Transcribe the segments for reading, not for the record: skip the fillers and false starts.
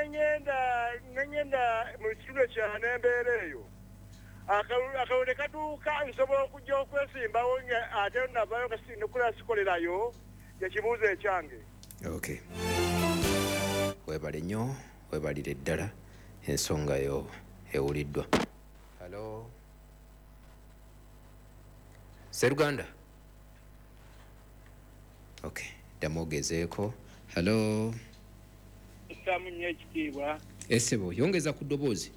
Neŋŋenda mu kitundu ekirala n'embeera eyo, akalulu ne katuuka, nsobola okujja okwesimbawo nga ate navayo nokula sikolerayo? Ekibuuzo ekyange. Okay, webale nnyo, webalire ddala, ensonga yo ewuliddwa. Hello, seruganda. Okay, ddamu ogezeeko. Hello. Kusaamu nnyo ekitiibwa. Esebo, yongeza ku ddoboozi.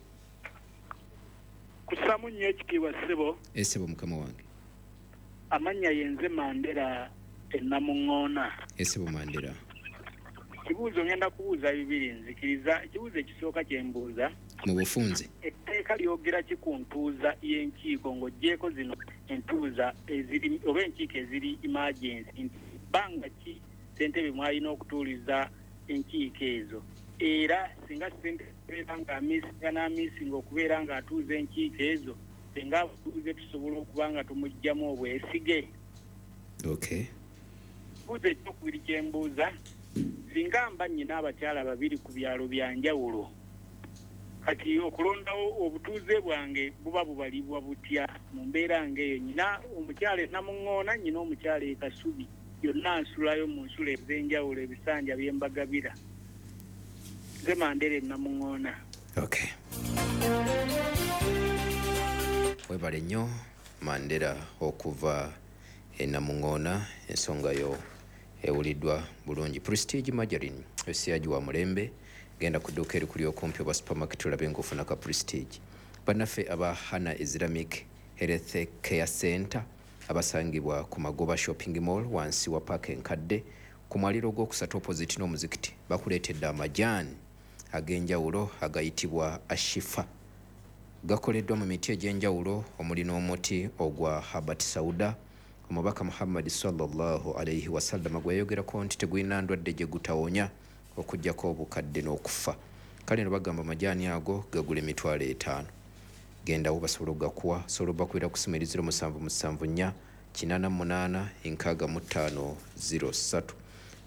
Kusaamu nnyo ekitiibwa, ssebo. Esebo, mukama wange. Amannya yenze Mandera enamuŋŋoona. Esebo, Mandera. Kibuuzo ngenda kubuuza bibiri, nzikiriza. Ekibuuzo ekisooka kye mbuuza, mu bufunze, etteeka lyogera ki ku ntuuza y'enkiiko, ng'oggyeko zino entuuza eziri oba enkiiko eziri emergency, nti bbanga ki ssentebe mwalina okutuuliza enkiiko ezo? Era singa ssentebe abeera ng'amiisinga n'amiisinga okubeera ng'atuuza enkiiko ezo, singa abatuuze tusobola okuba nga tumuggyamu obwesige? Buuza ekyokubiri kye mbuuza, singa mba nnyina abakyala babiri ku byalo bya njawulo, kati okulondawo obutuuze bwange buba bubalibwa butya mu mbeera ng'eyo? Nyina omukyala e Namuŋŋoona, nyina omukyala e Kasubi, yonna nsulayo mu nsulo ez'enjawulo, ebisanja bye mbagabira. Nze Mandera e Namuŋŋoona. Okay, webale nnyo, Mandera okuva enamuŋŋoona, ensonga yo ewuliddwa bulungi. Prestige Margarine esiyagi wa mulembe. Genda ku dduuka erikuli okumpi oba supermarket olabe ng'ofuna ka Prestige. Bannaffe aba Hana Islamic Health Care Center abasangibwa ku Magoba Shopping Mall, wansi wa paaka enkadde ku mwaliro ogwokusatu, opposite n'omuzikiti, bakuleetedde amajaani ag'enjawulo agayitibwa Ashifa. Gakoleddwa mu miti egy'enjawulo omuli n'omuti ogwa Habat Sauda, omubaka Muhammad sallallahu alaihi wasallama gwe yayogerako nti tegulina ndwadde gye gutawonya okugjako obukadde n'okufa. Kale no bagamba amajaani ago gagula 50,000. Gendawo basobola okugakuwa. Osobola obakubira ku simu eri 0774 88 65 03.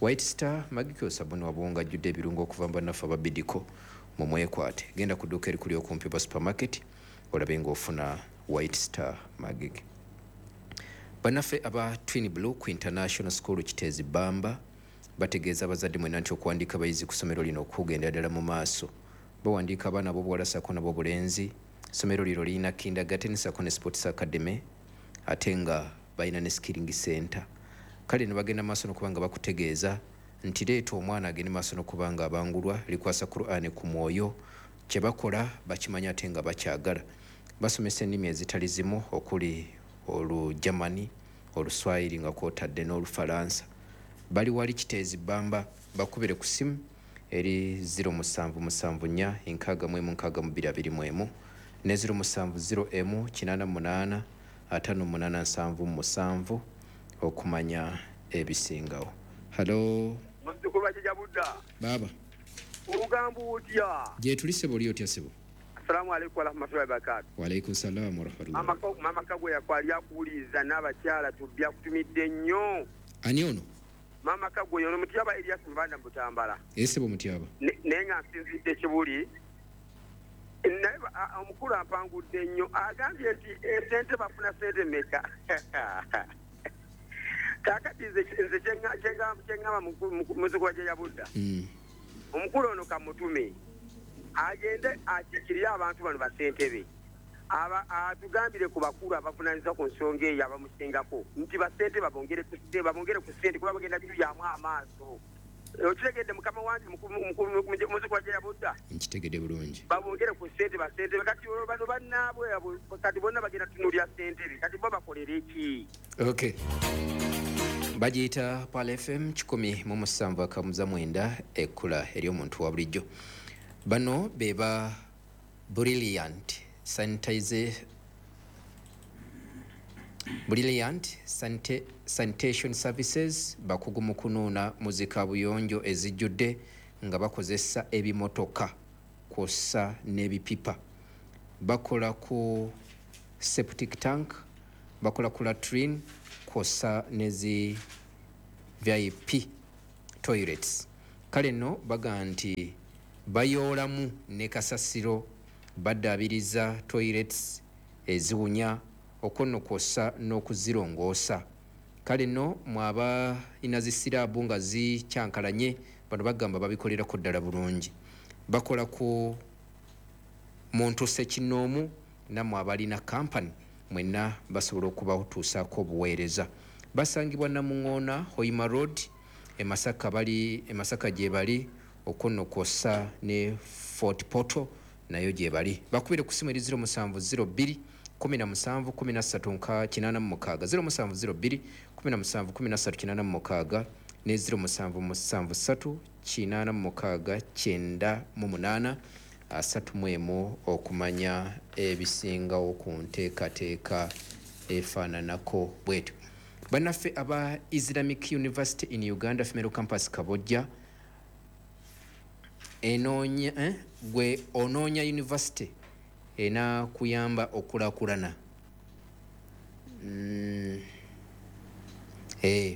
White Star Magikyo sabuni wabuwunga ajjudde ebirungo okuva mu bannaffe ababidiko mu mwekwate. Genda ku dduuka erikuli okumpi oba supermarket olabe ng'ofuna White Star Magik. Bannaffe aba Twin Blue ku International School Kiteezi Bamba bategeeza abazadde mwenna nti okuwandiika abayizi ku ssomero lino okugendera ddala mu maaso. Bawandiika abaana ab'obuwala ssaako n'ab'obulenzi. Essomero lino lirina kindergarten ssaako ne sports academy, ate nga balina ne skilling center. Kale ne bagenda maaso n'okuba nga bakutegeeza nti leeta omwana agende maaso n'okuba nga abangulwa, likwasa Qur'an ku mwoyo. Kye bakola bakimanyi ate nga bakyagala. Basomesa ennimi ezitali zimu okuli Olugermany, Oluswayiri nga kwotadde n'Olufalansa. Bali wali Kiteezi Bamba. Bakubire ku simu eri 0774 61 62 21 ne 0701 88 58 77 okumanya ebisingawo. Hello. Muzzukulu wa Jjajja Budda. Baaba. Ogamba otya? Gyetuli, sebo. Oli otya, sebo? Assalamu alaikum warahmatullahi wabarakatu. Waalaikum salaamu warahmatullahi. Mama Kagwe yakwali akuwuliriza n'abakyala tubbi akutumidde nnyo. Ani ono? Mama Kagwe ono Mutyaba Elias Mubanda Mubutambala. Esebo, Mutyaba. Naye nga nsinzidde Kibuli. Naye omukulu ampangudde nnyo, agambye nti esente bafuna sente meka? Kaakati nze kyeŋŋamba, muzzukulu wa Jjajja Budda, omukulu ono kamutume agende akiikirire abantu bano basentebe, atugambire ku bakulu abavunanyizibwa ku nsonga eyo abamusingako nti basente babongere ku sente, kuba bagenda tuyamu amaaso. Okitegedde, mukama wange muzzukulu wa Jjajja Budda? Nkitegedde bulungi. Babongere ku sente basentebe. Kati olwo bano bannaabwe abo kati bonna bagenda tunuulira sentebe, kati bo bakolere ki? Okay, bagiyita Pal FM 107.9, ekkula ery'omuntu wa bulijjo. Bano be ba Brilliant Sanitize, Brilliant Sanitation Services. Bakugu mu kunuuna muzika buyonjo ezijjudde nga bakozesa ebimotoka kw'ossa n'ebipipa. Bakola ku septic tank, bakola ku latrine kw'ossa nezi VIP toilets. Kale nno baga nti Bayoolamu ne kasasiro, baddaabiriza toilets eziwunya, okwo nno kwossa n'okuzirongoosa. Kale nno mwaba ina zisiraabu nga zikyankalanye, bano bagamba babikolerako ddala bulungi. Bakola ku muntu ssekinnoomu, nammwe abalina kampani mwenna basobola okubatuusaako obuweereza. Basangibwa Namuŋoona, Hoima Road, e Masaka, bali e Masaka gye bali, okwo nno kwossa ne Fort Portal nayo gye bali. Bakubire ku ssimu eri 0702 17 13 86, 0702 17 13 86 ne 0773 86 98 31 okumanya ebisingawo ku nteekateeka efaananako bwetyo. Bannaffe aba Islamic University in Uganda Female Campus Kabojja enoonya, gwe onoonya university enakuyamba okulakulana.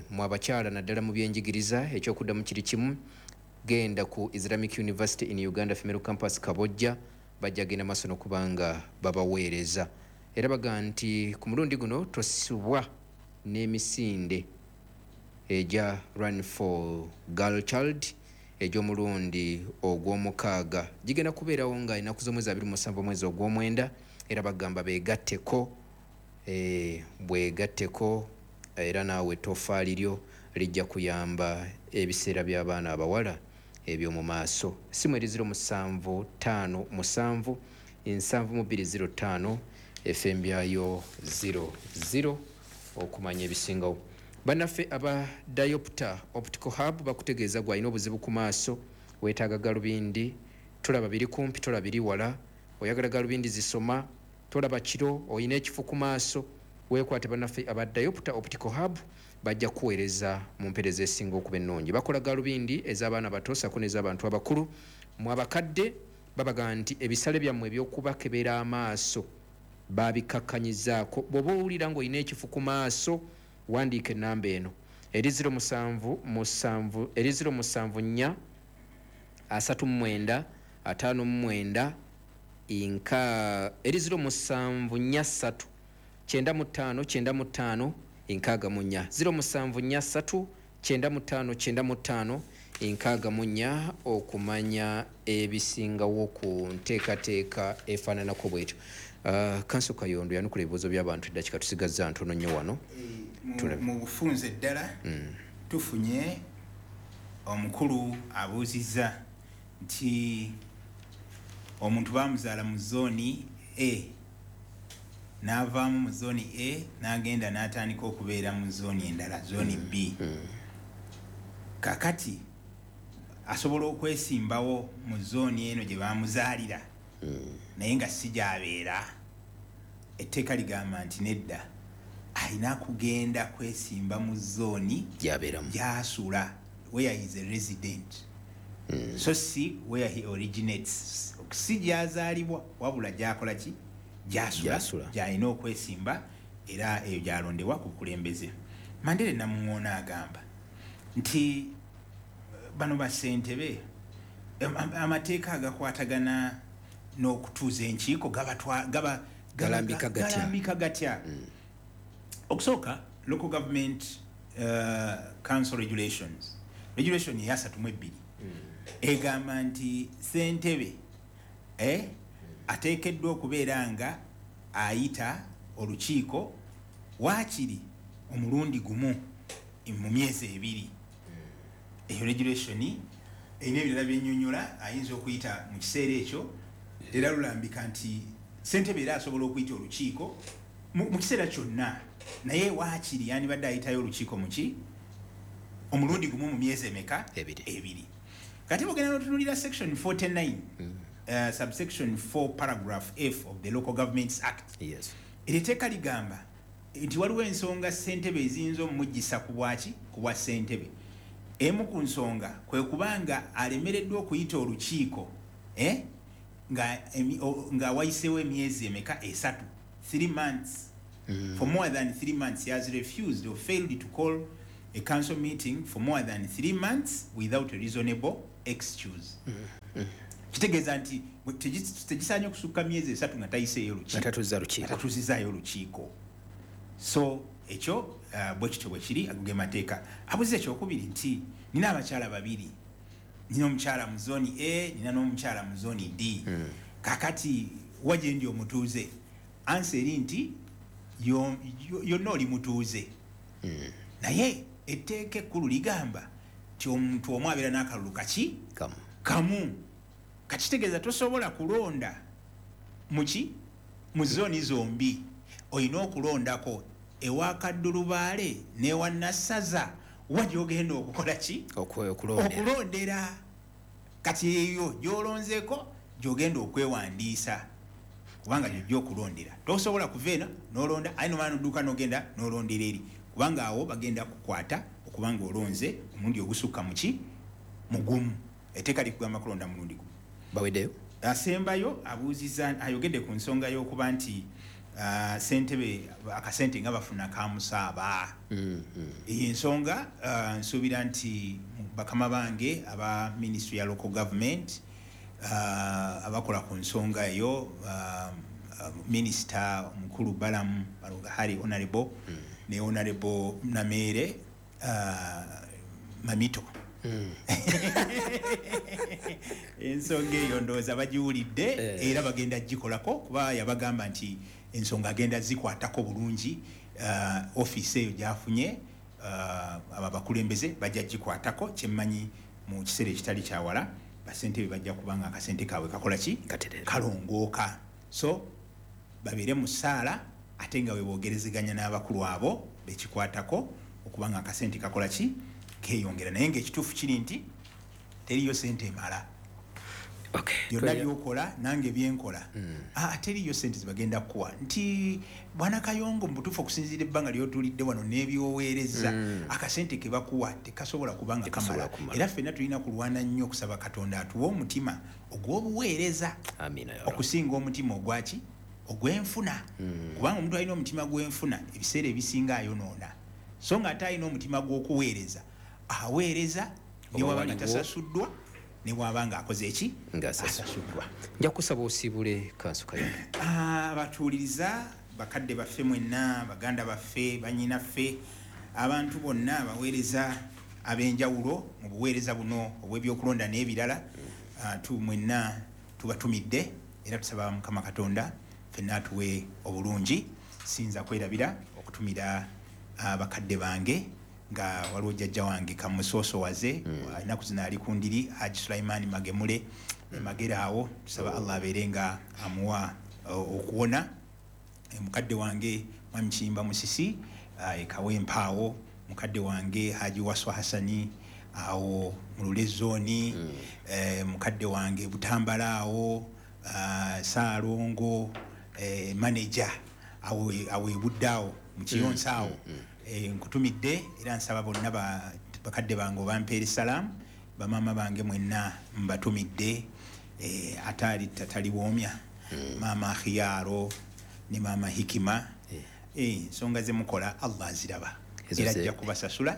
Mwe abakyala naddala mu byenjigiriza, ekyokuddamu kiri kimu: genda ku Islamic University in Uganda Female Campus Kabojja, bajja genda maaso n'okubanga babaweereza. Era baga nti ku mulundi guno tosibwa n'emisinde egya Run for Girl Child egy'omulundi ogw'omukaaga. Gigenda kubeerawo nga ennaku z'omwezi 27 omwezi ogw'omwenda. Era bagamba beegatteko, bwegatteko, era naawe ettoffaali lyo lijja kuyamba ebiseera by'abaana abawala eby'omu maaso. Simu eri 0757 7205 efembyayo 00 okumanya ebisingawo. Bannaffe aba Diopter Optical Hub bakutegeeza, gwalina obuzibu ku maaso, weetaaga galubindi, tolaba biri kumpi, tolaba biri wala, oyagala galubindi zisoma, tolaba kiro, oyina ekifu ku maaso, weekwate bannaffe aba Diopter Optical Hub, bajja kuweereza mu mpeereza esinga okuba ennungi. Bakola galubindi ez'abaana bato sako n'ez'abantu abakulu. Mu abakadde babaga nti ebisale byammwe ebyokubakebera amaaso babikakkanyizaako. Bw'oba owulira ng'olina ekifu ku maaso, wandiika ennamba eno eri 077, eri 074 39 59 inka, eri 0743 95 95 64, 0743 95 95 64 okumanya ebisingawo ku nteekateeka efaananako bwetyo. Kanso Kayondo, yanukula ebibuuzo by'abantu, eddakiika tusigazza ntono nnyo wano. Mu bufunze ddala, tufunye omukulu abuuzizza nti omuntu bamuzaala mu zooni A, n'avaamu mu zooni A n'agenda n'atandika okubeera mu zooni endala, zooni B. Kakati asobola okwesimbawo mu zooni eno gye bamuzaalira naye nga si gy'abeera? Etteeka ligamba nti nedda, alina kugenda kwesimba mu zooni gy'abeeramu, gy'asula, where he is a resident, so si where he originates, si gy'azaalibwa, wabula gy'akola ki? Gy'asula. Gy'asula. Gy'alina okwesimba, era eyo gy'alondebwa ku bukulembeze. Mandere Namuŋoona agamba nti bano bassentebe, amateeka agakwatagana n'okutuuza enkiiko Galambika gatya? Galambika gatya? Okusooka, Local Government Council Regulations, regulation eyasatu mu 2, egamba nti ssentebe ateekeddwa okubeera nga ayita olukiiko waakiri omulundi gumu mu myezi 2. Eyo regulation erina ebirala byenyonyola, ayinza okuyita mu kiseera ekyo. Era lulambika nti ssentebe era asobola okuyita olukiiko mu kiseera kyonna, naye waakiri yandibadde ayitayo olukiiko muki? Omulundi gumu mu myezi emeka? Ebiri. Ebiri. Kati bwogenda notunulira section 49, subsection 4, paragraph F of the Local Governments Act, eryo etteeka ligamba nti waliwo ensonga ssentebe eziyinza omugisa ku bwaki, ku bwa ssentebe. Emu ku nsonga kwe kubanga alemereddwa okuyita olukiiko nga wayiseewo emyezi emeka? 3, 3 months. For more than 3 months, he has refused or failed to call a council meeting for more than 3 months without a reasonable excuse. Kitegeeza nti tegisaanye okusukka myezi 3 nga tayiseeyo lukiiko, atatuuzizaayo lukiiko. So ekyo bwe kityo bwe kiri, ago ge mateeka. Abuuza ekyokubiri nti nina abakyala babiri, nina omukyala mu zooni A, nina n'omukyala mu zooni D. Kakati wa gye ndi omutuuze? Ansa eri nti yonna oli mutuuze. Naye etteeka ekkulu ligamba nti omuntu omu abeera n'akalulu kaki? Kamu. Kakitegeeza tosobola kulonda muki mu zooni zombi, olina okulondako ewa Kaddulubaale n'ewa Nassaza, wa gy'ogenda okukola ki? Okulondera. Kati eyo gy'olonzeeko gy'ogenda okwewandiisa, kubanga gy'ojja okulondera. Tosobola kuva eno n'olonda, aye nomala n'odduka n'ogenda n'olondera eri, kubanga awo bagenda kukwata okubanga olonze omulundi ogusukka muki? Mugumu. Etteeka likugamba kulonda mulundi gumu. Baweddeyo? Asembayo abuuziza, ayogedde ku nsonga y'okuba nti ssentebe akasente nga bafuna kamusaaba. Eyo ensonga nsuubira nti bakama bange aba Ministry ya Local Government abakola ku nsonga eyo, Minisita omukulu Balaam Barugahara Honorable ne Honorable Nameere Mamito. Ensonga eyo ndowooza bagiwulidde era bagenda gikolako, kuba yabagamba nti ensonga agenda zikwatako bulungi. Ofiisi eyo gyafunye abo abakulembeze bajja gikwatako, kyemmanyi mu kiseera ekitali kyawala basentebe bajja kubanga akasente kaabwe kakola ki? Kalongooka. So babeere mu ssaala ate nga weboogerezeganya n'abakulu abo bekikwatako okubanga akasente kakola ki? Keeyongera. Naye ng'ekituufu kiri nti teriyo sente emala. Byonna byokola nange byenkola, teriyo sente zibagenda kukuwa nti bwana Kayongo mu butuufu okusinziira ebbanga ly'otuulidde wano n'ebyoweereza, akasente ke bakuwa tekasobola kubanga kamala. Era ffenna tulina kulwana nnyo okusaba Katonda atuwe omutima ogw'obuweereza okusinga omutima ogwaki? Ogw'enfuna. Kubanga omuntu alina omutima gw'enfuna ebiseera ebisinga ayonoona, so nga ate alina omutima gw'okuweereza aweereza ne waba nga tasasuddwa, ne bw'aba nga akoze eki? Asasuddwa. Nja kusaba osiibule Kanso Kayondo. Abatuuliriza bakadde baffe mwenna, baganda baffe, bannyinaffe, abantu bonna abaweereza ab'enjawulo mu buweereza buno obw'ebyokulonda n'ebirala, mwenna tubatumidde era tusaba Mukama Katonda ffenna atuwe obulungi. Siyinza kwerabira okutumira bakadde bange, nga waliwo jjajja wange Kamusoosowaze, ennaku zino ali ku ndiri, Haji Sulaiman Magemule Magera awo, tusaba Allah abeere nga amuwa okuwona. Mukadde wange Mwami Kiyimba Musisi Ekawempe awo, mukadde wange Haji Waswa Hassani awo mu Lule zooni, mukadde wange Butambala awo, Saalongo manager awo ebudde awo mu Kiyonsa awo. Nkutumidde era nsaba bonna bakadde bange obampeere salaamu, bamaama bange mwenna mbatumidde, ate ali tataliwoomya, maama Khiyaaro ne maama Hikima. Ensonga ze mukola Allah aziraba era ajja kubasasula.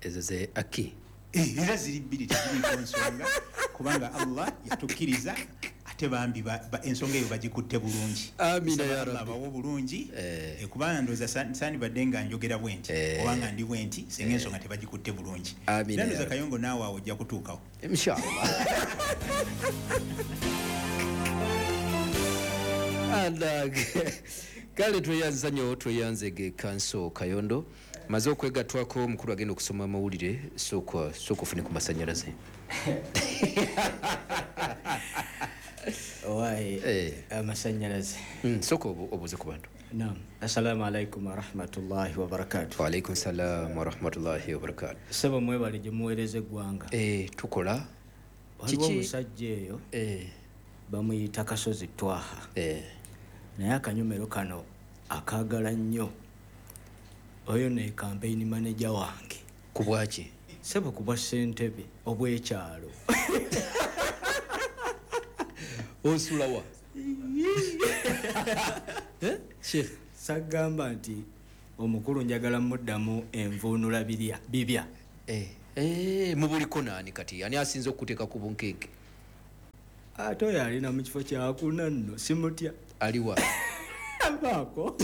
Ezo ze aki era ziri bbiri, teziriiko nsonga, kubanga Allah yatukkiriza ate bambi ensonga eyo bagikutte bulungi. Amina ya Rabbi. Abawo bulungi, kubanga ndowooza sandibadde nga njogera bwe nti oba nga ndi bwe nti singa ensonga tebagikutte bulungi. Amina ya Ndowooza Kayongo naawe awo ojja kutuukawo. Inshallah. Kale tweyanza nnyo, tweyanzege Kanso Kayondo. Maze okwegattwako omukulu agenda okusoma amawulire, sooka ofune ku masannyalaze. Owaye amasannyalaze. Sooka obuuze ku bantu. Naam. Assalamu alaikum warahmatullahi wabarakatuh. Wa alaikum salam warahmatullahi wabarakatuh. Ssebo mwebale gye muweereza eggwanga. Tukola. Waliwo omusajja eyo bamuyita Kasozi Twaha. Naye akanyomero kano akaagala nnyo. Oyo ne campaign manager wange. Ku bwaki? Ssebo ku bwa ssentebe obw'ekyalo. Osula wa? Sheikh. Sagamba nti omukulu njagala muddamu envuunula bibya. Mubuliko naani kati? Ani asinze okuteeka ku bunkenke? Ate oyo alina mu kifo kyakuna nno simutya. Aliwa? Avaako.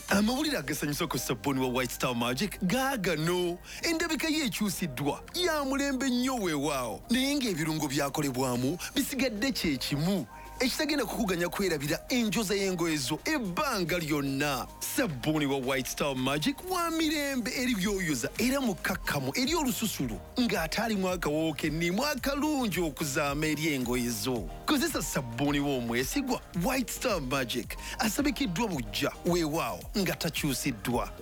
Amawulire agasanyusa ku sabbuuni wa White Star Magic gaagano. Endabika ye ekyusiddwa ya mulembe nnyo weewaawo, naye ng'ebirungo byakolebwamu bisigadde kye kimu ekitagenda kukuganya kwerabira enjoza y'engoye zo ebbanga lyonna. Sabbuuni wa White Star Magic wa mirembe eri byoyoza era mukkakkamu eri olususulu ng'ate alimu akawoowo kennimu akalungi okuzaama eri engoye zo. Kozesa sabbuuni w'omwesigwa White Star Magic asabikiddwa buggya weewaawo nga takyusiddwa.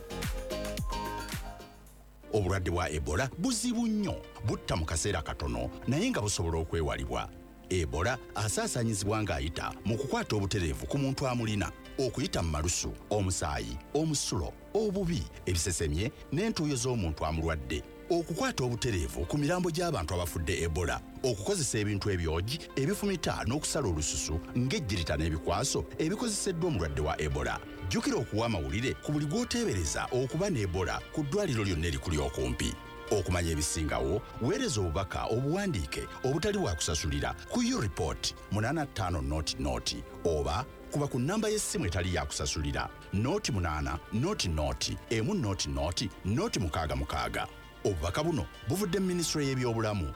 Obulwadde bwa Ebola buzibu nnyo, butta mu kaseera katono naye nga busobola okwewalibwa. Ebola asaasaanyizibwa ng'ayita mu kukwata obutereevu ku muntu amulina, okuyita mu malusu, omusaayi, omusulo, obubi, ebisesemye n'entuuyo z'omuntu amulwadde, okukwata obutereevu ku mirambo gy'abantu abafudde Ebola, okukozesa ebintu ebyogi ebifumita n'okusala olususu ng'ejjirita n'ebikwaso ebikozeseddwa omulwadde wa Ebola. Jjukira okuwa amawulire ku buli gw'oteebereza okuba ne Ebola ku ddwaliro lyonna erikuli okumpi. Okumanya ebisingawo, weereza obubaka obuwandiike obutali bwa kusasulira ku ureport 8500 oba kuba ku nnamba y'essimu etali ya kusasulira 08 00 1 0 0 66. Obubaka buno buvudde mu minisitule y'ebyobulamu.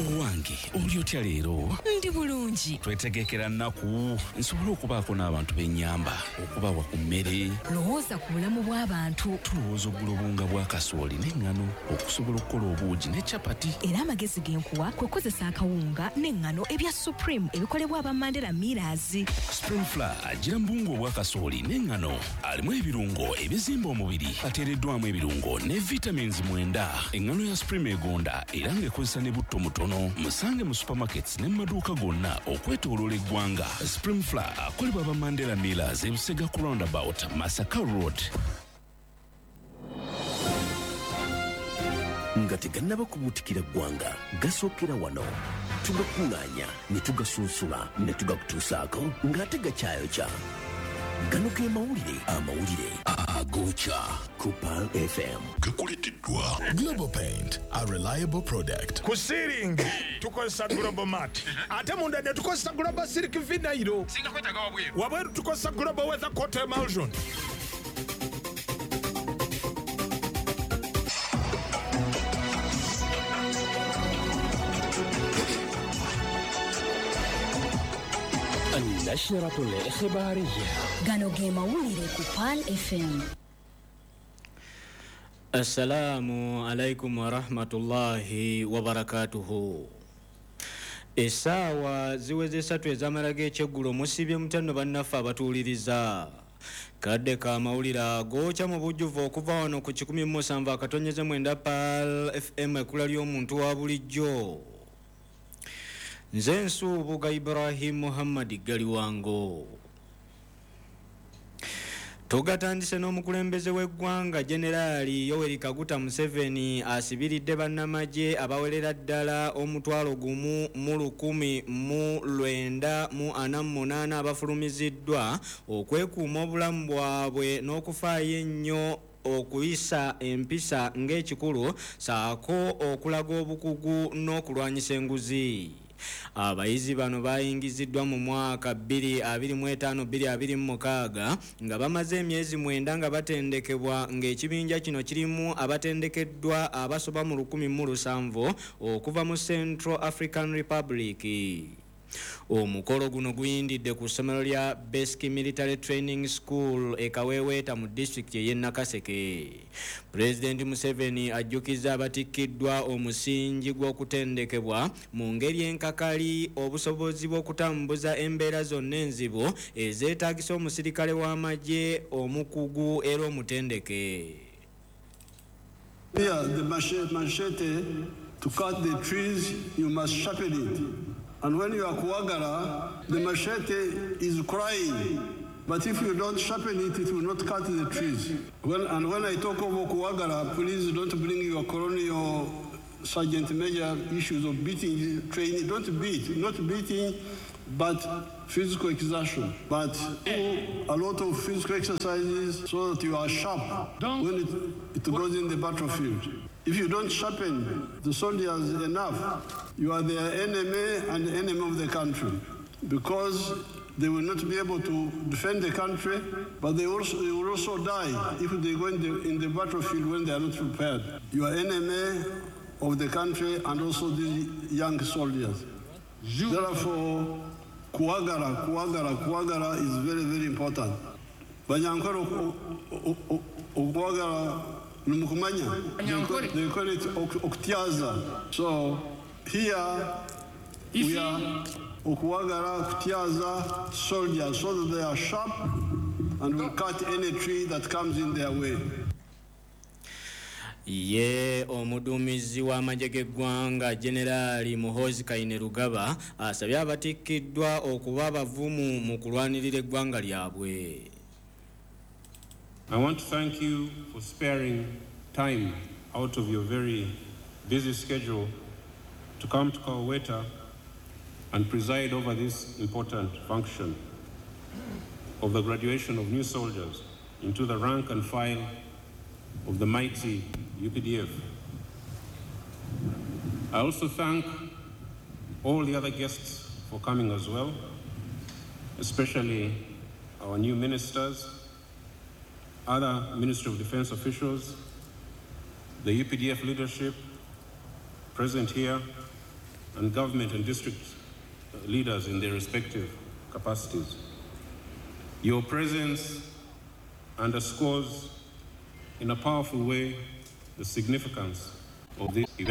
Owange, oli otya leero? Ndi bulungi. Twetegekera nnaku nsobole okubaako n'abantu b'ennyamba, okubawa ku mmere. Lowooza ku bulamu bw'abantu. Tulowooza okugula obuwunga bwa kasooli n'eŋŋano okusobola okukola obuugi ne capati. Era amagezi ge nkuwa kwe kukozesa akawunga n'eŋŋano ebya Supreme ebikolebwa aba Mandela Millers. Supreme Flour agira mu buwunga obwa kasooli n'eŋŋano, alimu ebirungo ebizimba omubiri, ateereddwamu ebirungo ne vitamins 9. Eŋŋano ya Supreme egonda era ng'ekozesa ne butto mutono. Musange mu supermarkets ne mu maduuka gonna okwetooloola eggwanga. Supreme Flour akolebwa aba Mandela Millers e Busega ku roundabout Masaka Road. Nga tegannaba kubuutikira ggwanga, gasookera wano. Tugakuŋŋaanya ne tugasunsula ne tugakutuusaako ng'ate gakyayokya. Gano ge mawulire, amawulire agokya ku Pearl FM. Gakuleeteddwa Global Paint, a reliable product. Ku ceiling tukozesa Global Mat, ate munda ne tukozesa Global Silk Vinyl. Wabweru tukozesa Global Weather Coat Emulsion. النشرة الإخبارية. Gano ge mawulire ku Pearl FM. Assalamu alaikum warahmatullahi wabarakatuhu. Essaawa ziweze 3 ez'amala g'ekyeggulo. Musibye mutano bannaffe abatuwuliriza. Kadde ka mawulire agokya mu bujjuvu okuva wano ku 107.9 Pearl FM, ekkula ly'omuntu wa bulijjo. Nze Nsubuga Ibrahim Muhammad Galiwango. Tugatandise n'omukulembeze w'eggwanga Generaali Yoweri Kaguta Museveni asibiridde bannamagye abawerera ddala 1,198 abafulumiziddwa okwekuuma obulamu bwabwe n'okufaayo ennyo okuyisa empisa ng'ekikulu ssaako okulaga obukugu n'okulwanyisa enguzi. Abayizi bano bayingiziddwa mu mwaka 2025-2026 nga bamaze emyezi 9 nga batendekebwa, ng'ekibinja kino kirimu abatendekeddwa abasoba mu 1700 okuva mu Central African Republic. Omukolo guno guyindidde ku ssomero lya Basic Military Training School e Kaweweeta mu disitulikiti ey'e Nakaseke. Pulezidenti Museveni ajjukizza abatikkiddwa omusingi gw'okutendekebwa mu ngeri enkakali obusobozi bw'okutambuza embeera zonna enzibu ezeetaagisa omusirikale w'amagye omukugu era omutendeke. Here, the machete to cut the trees, you must sharpen it. And when you are kuwagara, the machete is crying. But if you don't sharpen it, it will not cut the trees. When I talk of kuwagara, please don't bring your colonial sergeant major issues of beating, training. Don't beat, not beating, but physical exertion, but do a lot of physical exercises so that you are sharp when it goes in the battlefield. If you don't sharpen the soldiers enough, you are their enemy and the enemy of the country, because they will not be able to defend the country, but they will also die if they go in the battlefield when they are not prepared. You are enemy of the country and also the young soldiers. Therefore, kuwagara, kuwagara, kuwagara is very, very important. Banyankore okuwagara numukumanya. They call it okutiaza. So here we are okuwagara, kutiaza soldiers so that they are sharp and will cut any tree that comes in their way. Ye omuduumizi w'amagye g'eggwanga Generali Muhoozi Kainerugaba asabye abatikkiddwa okuba abavumu mu kulwanirira eggwanga lyabwe. I want to thank you for sparing time out of your very busy schedule to come to Kaweweta and preside over this important function of the graduation of new soldiers into the rank and file of the mighty UPDF. I also thank all the other guests for coming as well, especially our new ministers, other Ministry of Defense officials, the UPDF leadership present here, and government and district leaders in their respective capacities. Your presence underscores in a powerful way the significance of this event.